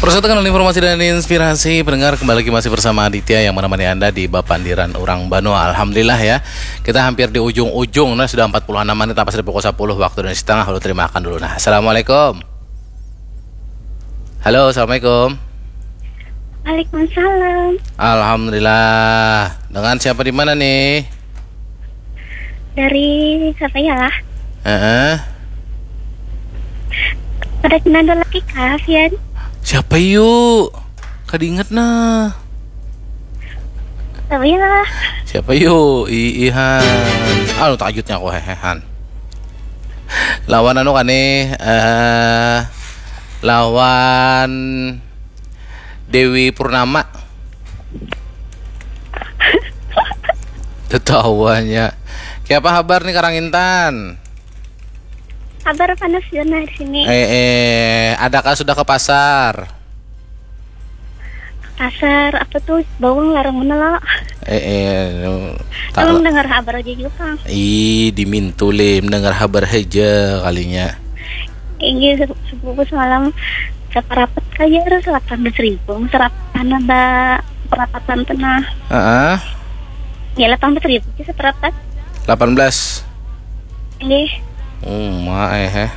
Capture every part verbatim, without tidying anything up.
Persatukan informasi dan inspirasi, pendengar, kembali lagi masih bersama Aditya yang menemani Anda di Bapandiran Urang Banua. Alhamdulillah ya, kita hampir di ujung-ujung, nah, sudah empat puluh enam menit, lepas dari pukul sepuluh waktu Indonesia Tengah. Lalu terima akan dulu. Nah, Assalamualaikum. Halo, Assalamualaikum. Waalaikumsalam. Alhamdulillah. Dengan siapa di mana nih? Dari siapa ya lah? Heeh. Pada kenal lagi kah, Fian? Siapa yuk? Kada ingat nah. Siapa ya lah? Siapa yuk? Iihan. Anu tajutnya aku hehehan. Lawan anu kane eh lawan Dewi Purnama. Tetawanya. Kiapa habar nih Karang Intan? Kabar panas jua nah di sini. Eh, eh, adakah sudah ke pasar? Pasar apa tuh? Bawang larang mana lah. Eh, eh, nu, tak Emang la- dengar kabar aja juga, Kang. Ih, dimintu le, mendengar habar haja kalinya. Inggih, se- sepupu semalam saparapat kaya harus delapan belas ribu. Serapan ada perapatan tengah. Heeh. Ya, delapan belas ribu sih saparapat. Delapan belas. Inggih. Uma eh, eh.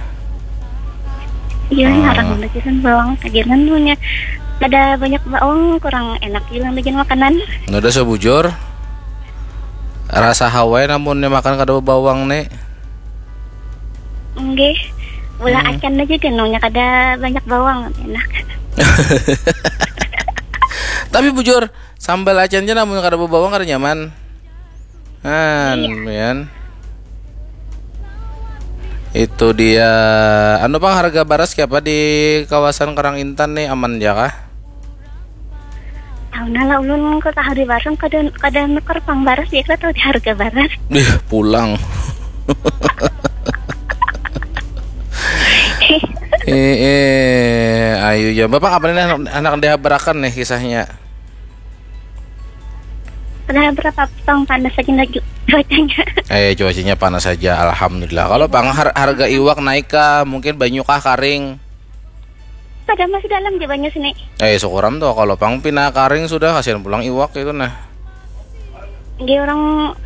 Iya, Ah. Larang bagisan bawang. Kagiran punya ada banyak bawang, kurang enak juga bikin makanan. Nada sebujur. Rasa hawai namun makan kada bawang nih. Inggih. Bola Hmm. Acan aja genongnya kada banyak bawang, enak. Tapi bujur, sambal acan aja namun kada bawang kada nyaman. Han, Iya. Mian. Itu dia. Anu pang harga baras kiapa di kawasan Karang Intan nih, aman ya kah? Tahu nah lah ulun ke tahu di warung kada kada nukar pang baras ya, kada tahu di harga baras. Ih, pulang. Eh, eh, ayo ya. Bapak apa nih anak, anak dihabarakan nih kisahnya? Padahal berapa pang panas lagi lagi cuacanya. Eh, cuacanya panas saja, alhamdulillah. Kalau pang har- harga iwak naik kah? Mungkin banyu kah karing? Pada masih dalam di banyu sini. Eh, syukuram tuh kalau pang pina karing sudah, kasihan pulang iwak itu nah. Dia orang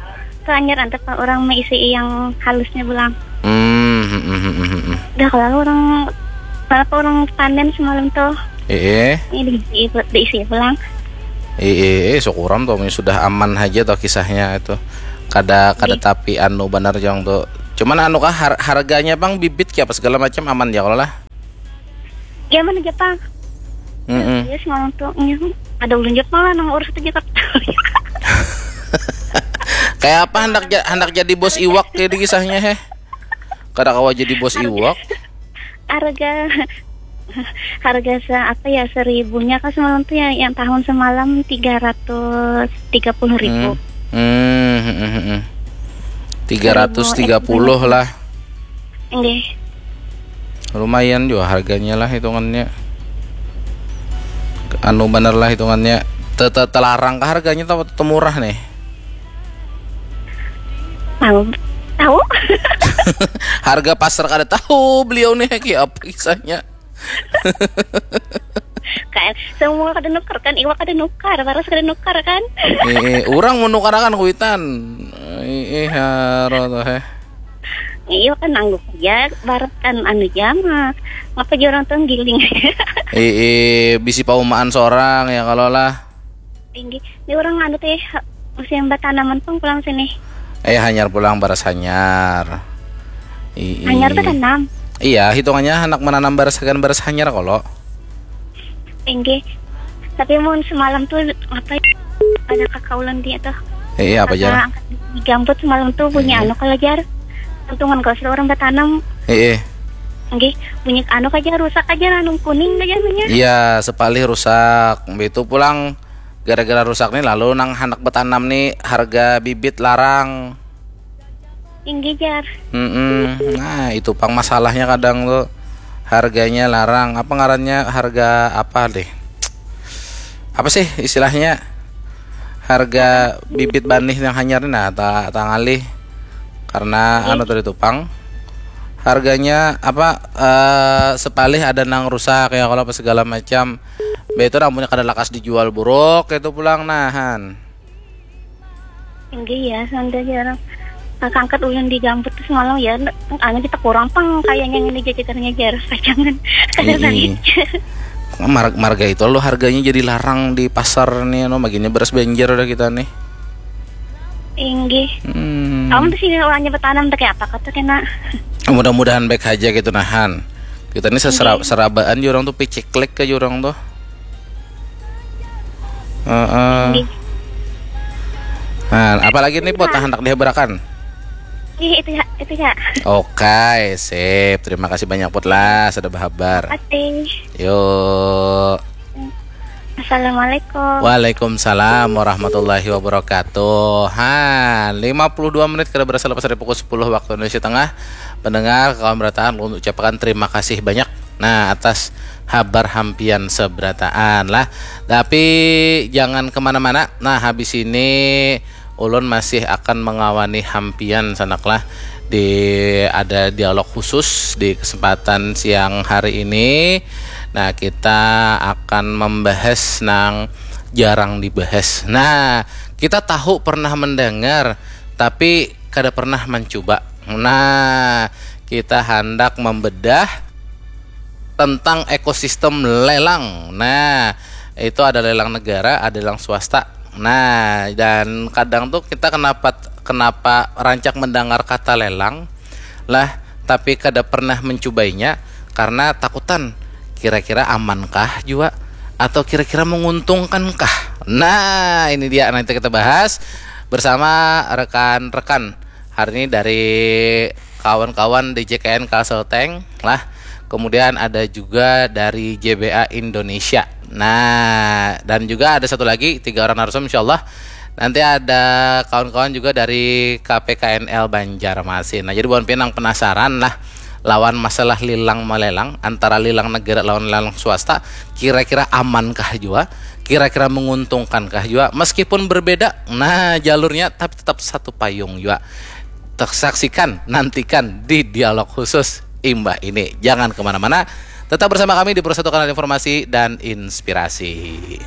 keanyar antep orang maisi yang halusnya pulang. Hmm, hmm, hmm, hmm, hmm, hmm. Dah kalau orang apa orang panen semalam tuh. Eh, eh. Ini diisi, diisi pulang. Eh, eh, eh, syukuram tuh, sudah aman aja tuh kisahnya itu. Kada kada Iya. Tapi anu banar jang tuh. Cuman anu kah har- harganya pang bibit kayak apa segala macam aman ya kalau lah. Iya mana Jepang? Mm-mm. Iya semalam tuh iya, ada ulun Jepang lah nang urus itu Jakarta. Kayak apa hendak ja- hendak jadi bos iwak kayak di kisahnya heh. Kada kawa jadi bos iwak. Harga harga se apa ya seribunya kan semalam tuh ya yang tahun semalam tiga ratus tiga puluh ribu. Hmm. Hmm, hmm, hmm, hmm. Tiga ratus tiga puluh lah. Enggak. Lumayan juga harganya lah hitungannya. Anu bener lah hitungannya. Te- te- Telarang kah harganya atau te murah nih? Tahu. Tahu. Harga pasar kada tahu beliau nih kayak apa kisahnya. Kan semua kada nukar kan, iwak kada nukar, baras kada nukar kan. Eh, eh, orang menukarakan kuitan. Eh, eh, haro tuh eh. Iya kan nangguh aja, barat kan anu aja mah. Ngapa aja orang tuh giling. Eh, eh, bisi paumaan seorang ya kalau lah. Tinggi. Ini orang anu teh musim batanaman pang pulang sini. Eh hanyar pulang baras hanyar. Ii. Hanyar batanam. Iya, hitungannya anak menanam baras hagan baras hanyar kolo. Tinggi. Tapi mun semalam tuh apa ya? Ada kakak ulun dia tuh. Eh, iya apa aja? Angkat di gambut semalam tuh bunyi anu kalau jar. Untungan kalau sudah orang batanam. Eh, eh. Nggih, bunyi anu aja rusak aja anu kuning aja namanya. Iya, sepalih rusak. Itu pulang gara-gara rusak nih lalu nang handak betanam nih harga bibit larang. Inggih jar. Mm-mm. Nah itu pang masalahnya kadang tuh harganya larang apa ngarannya harga apa deh apa sih istilahnya harga bibit banih yang hanyar nih nah tak tak ngalih karena anu tadi tuh pang harganya apa, eh, sepalih ada nang rusak ya, kalau apa segala macam. Be itu rambunya kada lakas dijual buruk itu pulang nahan. Inggih ya, sanda jarang. Nah, kangkat ulun di gambut tuh semalam ya, anu kita kurang pang kayaknya ini jajatannya jar pacangan. Kada Ii. balik. Mar- marga itu lo harganya jadi larang di pasar nih, anu, maginya beras Banjar udah kita nih. Inggih. Hmm. Kamu tuh sini orangnya bertanam tuh kayak apa kata kena. Mudah-mudahan baik aja gitu nahan. Kita ini sesera- Oke. Serabaan jurang tuh, piciklik ke jurang tuh. Heeh. Inggih. Nah, apalagi nih Put, nah, hendak dihabarakan. Ih, itu ya, itu ya. Oke, sip. Terima kasih banyak Put lah sudah berhabar. Oke. Yuk. Assalamualaikum. Waalaikumsalam warahmatullahi wabarakatuh. Ha, lima puluh dua menit kada berasa lepas dari pukul sepuluh waktu Indonesia Tengah. Pendengar, kawan berataan, ulun ucapkan terima kasih banyak. Nah, atas habar hampian seberataan lah. Tapi jangan kemana-mana. Nah, habis ini ulun masih akan mengawani hampian sanak lah di ada dialog khusus di kesempatan siang hari ini. Nah, kita akan membahas nang jarang dibahas. Nah, kita tahu pernah mendengar tapi kada pernah mencoba. Nah, kita hendak membedah tentang ekosistem lelang. Nah, itu ada lelang negara, ada lelang swasta. Nah, dan kadang tuh kita kenapa kenapa rancak mendengar kata lelang lah, tapi kada pernah mencobainya karena takutan kira-kira amankah juga atau kira-kira menguntungkankah. Nah, ini dia nanti kita bahas bersama rekan-rekan hari ini dari kawan-kawan di J K N Kalsel Tank lah. Kemudian ada juga dari J B A Indonesia. Nah, dan juga ada satu lagi, tiga orang narasumber insyaallah. Nanti ada kawan-kawan juga dari K P K N L Banjarmasin. Nah, jadi buat pinang penasaran lah lawan masalah lilang melelang antara lilang negara lawan lilang swasta, kira-kira amankah jua, kira-kira menguntungkankah jua, meskipun berbeda nah jalurnya tapi tetap satu payung jua. Tersaksikan, nantikan di dialog khusus imbah ini. Jangan kemana-mana, tetap bersama kami di Persatu Kanal Informasi dan Inspirasi.